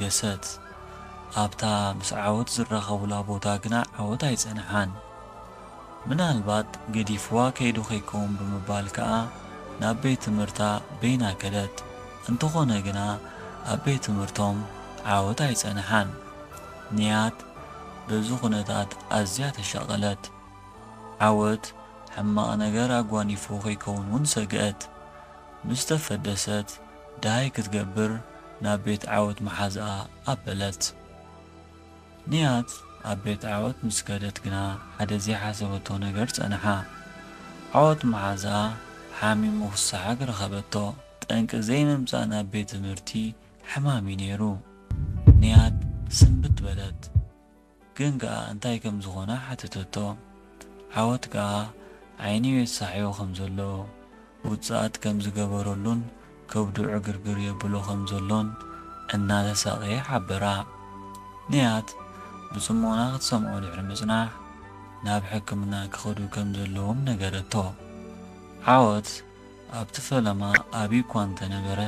ገሰት። ኣብታ ምስ ዓወት ዝራኸቡላ ቦታ ግና ዓወት ኣይጸንሓን። ምናልባት ገዲፍዋ ከይዱ ከይከውን ብምባል ከኣ ናብ ቤት ትምህርታ በይና ከደት። እንተኾነ ግና ኣብ ቤት ትምህርቶም ዓወት ኣይጸንሓን። ንያት በዚ ኩነታት ኣዝያ ተሻቐለት። ዓወት ሕማቕ ነገር ኣጓኒፉ ከይከውን እውን ሰግአት። ምስ ተፈደሰት ደሃይ ክትገብር ናብ ቤት ዓወት መሓዝኣ ኣበለት። ንያት ኣብ ቤት ዓወት ምስ ከደት ግና ሓደ ዘይሓሰበቶ ነገር ጸንሓ። ዓወት መሓዝኣ ሓሚሙ ክሰሓግ ረኸበቶ። ጠንቂ ዘይምምጻእ ናብ ቤት ትምህርቲ ሕማም እዩ ነይሩ። ንያት ስንብት በለት። ግን ከኣ እንታይ ከም ዝኾነ ሓተተቶ። ዓወት ከኣ ዓይኑ የሳሕዮ ከም ዘሎ፣ ውጽኣት ከም ዝገበረሉን ከብዱ ዕግርግር የብሎ ከም ዘሎን እናተሳቐየ ሓበራ። ንያት ብጽሞና ክትሰምዖ ድሕሪ ምጽናሕ፣ ናብ ሕክምና ክኸዱ ከም ዘለዎም ነገረቶ። ዓወት ኣብቲ ፈለማ ኣብዩ እኳ እንተነበረ፣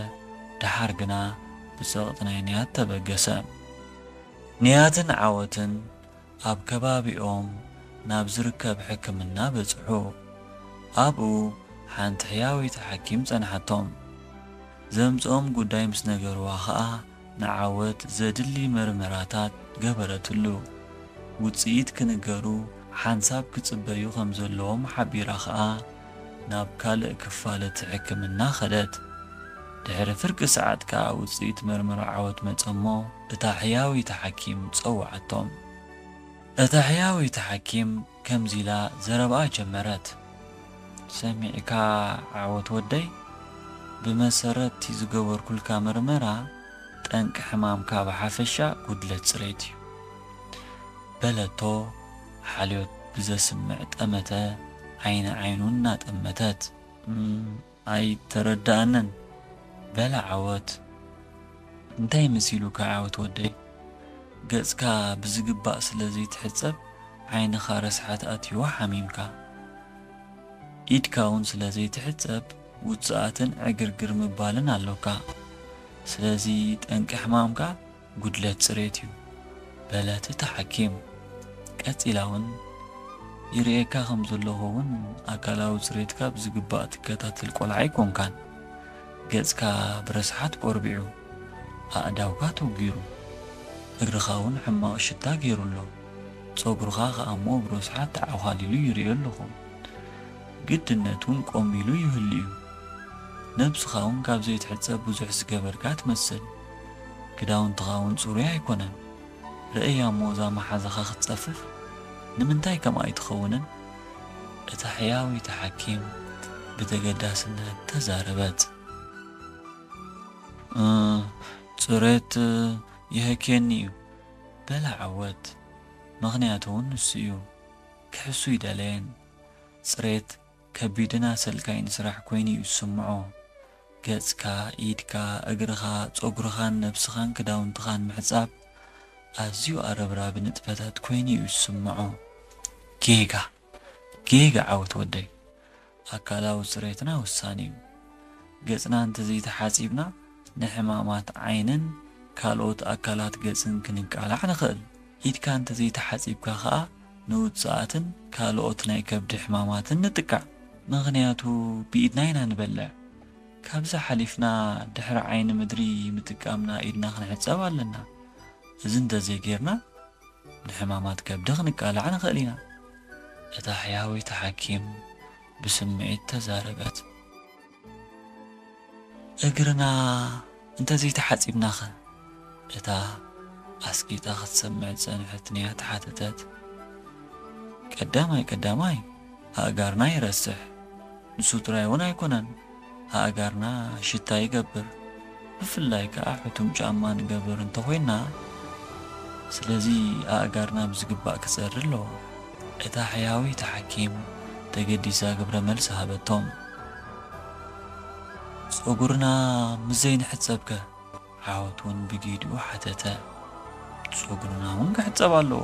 ደሓር ግና ብጸቕጢ ናይ ንያት ተበገሰ። ንያትን ዓወትን ኣብ ከባቢኦም ናብ ዝርከብ ሕክምና በጽሑ። ኣብኡ ሓንቲ ሕያወይቲ ሓኪም ጸንሓቶም። ዘምጽኦም ጉዳይ ምስ ነገርዋ ኸኣ፣ ንዓወት ዘድሊ መርመራታት ገበረትሉ። ውጽኢት ክንገሩ ሓንሳብ ክጽበዩ ከም ዘለዎም ሓቢራ ኸኣ፣ ናብ ካልእ ክፋል እቲ ሕክምና ኸደት። ድሕሪ ፍርቂ ሰዓት ከኣ ውጽኢት መርመራ ዓወት መጸ እሞ፣ እታ ሕያወይቲ ሓኪም ጸውዓቶም። እታ ሕያወይቲ ሓኪም ከምዚ ኢላ ዘረባኣ ጀመረት። ሰሚዕካ ዓወት ወደይ፣ ብመሰረት እቲ ዝገበርኩልካ መርመራ፣ ጠንቂ ሕማምካ ብሓፈሻ ጉድለት ጽሬት እዩ። በለቶ ሓልዮት ብዘስምዕ ጠመተ ዓይኒ ዓይኑ እናጠመተት። "እም፣ ኣይተረድኣንን" በለ ዓወት። "እንታይ መሲሉካ ዓወት ወደይ? ገጽካ ብዝግባእ ስለ ዘይትሕጸብ ዓይንኻ ረስሓት ኣትይዎ ሓሚምካ። ኢድካ እውን ስለ ዘይትሕጸብ ውጽኣትን ዕግርግር ምባልን ኣሎካ። ስለዚ ጠንቂ ሕማምካ ጉድለት ጽሬት እዩ" በለት እታ ሓኪም። ቀጺላ እውን "ይርእየካ ከም ዘለኹ እውን ኣካላዊ ጽሬትካ ብዝግባእ ትከታተል ቆልዓ ኣይኮንካን። ገጽካ ብረስሓት ቆርቢዑ፣ ኣእዳውካ ተውጊሩ፣ እግርኻ እውን ሕማቕ ሽታ ገይሩ ኣሎ። ጸጉርኻ ከኣ እሞ ብረስሓት ተዓዃሊሉ ይርእዮ ኣለኹ። ግድነት እውን ቆም ኢሉ ይህሉ እዩ። ነብስኻ እውን ካብ ዘይትሕጸብ ብዙሕ ዝገበርካ ትመስል። ክዳውንትኻ እውን ጽሩይ ኣይኮነን። ርእያ እሞ እዛ መሓዛኻ ክትጸፍፍ ንምንታይ ከምኣ ኣይትኸውንን?" እታ ሕያወይቲ ሓኪም ብተገዳስነት ተዛረበት። "እ፣ ጽሬት ይህክየኒ እዩ" በለ ዓወት። ምኽንያቱ እውን ንሱ እዩ። ክሕሱ ይደለየን። ጽሬት ከቢድን ኣሰልካይን ስራሕ ኮይኑ እዩ ዝስምዖ። ገጽካ፣ ኢድካ፣ እግርኻ፣ ጸጉርኻን ነብስኻን ክዳውንትኻን ምሕጻብ ኣዝዩ ኣረብራቢ ንጥፈታት ኮይኑ እዩ ዝስምዖ። ጌጋ፣ ጌጋ ዓወት ወደይ። ኣካላዊ ጽሬትና ወሳኒ እዩ። ገጽና እንተዘይተሓጺብና ንሕማማት ዓይንን ካልኦት ኣካላት ገጽን ክንቃላዕ ንኽእል። ኢድካ እንተዘይተሓጺብካ ኸኣ ንውጽኣትን ካልኦት ናይ ከብዲ ሕማማትን ንጥቃዕ። ምኽንያቱ ብኢድና ኢና ንበልዕ። ካብዚ ሓሊፍና ድሕሪ ዓይኒ ምድሪ ምጥቃምና ኢድና ክንሕጸብ ኣለና። እዚ እንተዘይጌርና ንሕማማት ከብዲ ክንቃላዕ ንኽእል ኢና። እታ ሕያወይቲ ሓኪም ብስምዒት ተዛረበት። "እግርና እንተዘይተሓጺብናኸ?" እታ ኣስቂጣ ክትሰምዕ ዝጸንሐት ንያት ሓተተት። "ቀዳማይ ቀዳማይ ኣእጋርና ይረስሕ። ንሱ ጥራይ እውን ኣይኮነን፣ ኣእጋርና ሽታ ይገብር። ብፍላይ ከኣ ሕቱም ጫማ ንገብር እንተኾይንና፣ ስለዚ ኣእጋርና ብዝግባእ ክጸሪ ኣለዎ" እታ ሕያወይቲ ሓኪም ተገዲሳ ግብረ መልሲ ሃበቶም። "ጸጉርና ምስ ዘይንሕጸብከ?" ዓወት እውን ብጊድኡ ሓተተ። "ጸጉርና እውን ክሕጸብ ኣለዎ።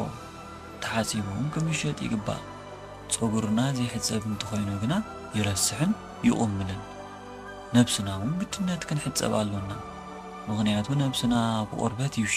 ተሓጺቡ እውን ክምሸጥ ይግባእ። ጸጉርና ዘይሕጸብ እንተኾይኑ ግና ይረስሕን ይቑምልን። ነብስና እውን ግድነት ክንሕጸብ ኣሎና። ምኽንያቱ ነብስና ብቆርበት እዩ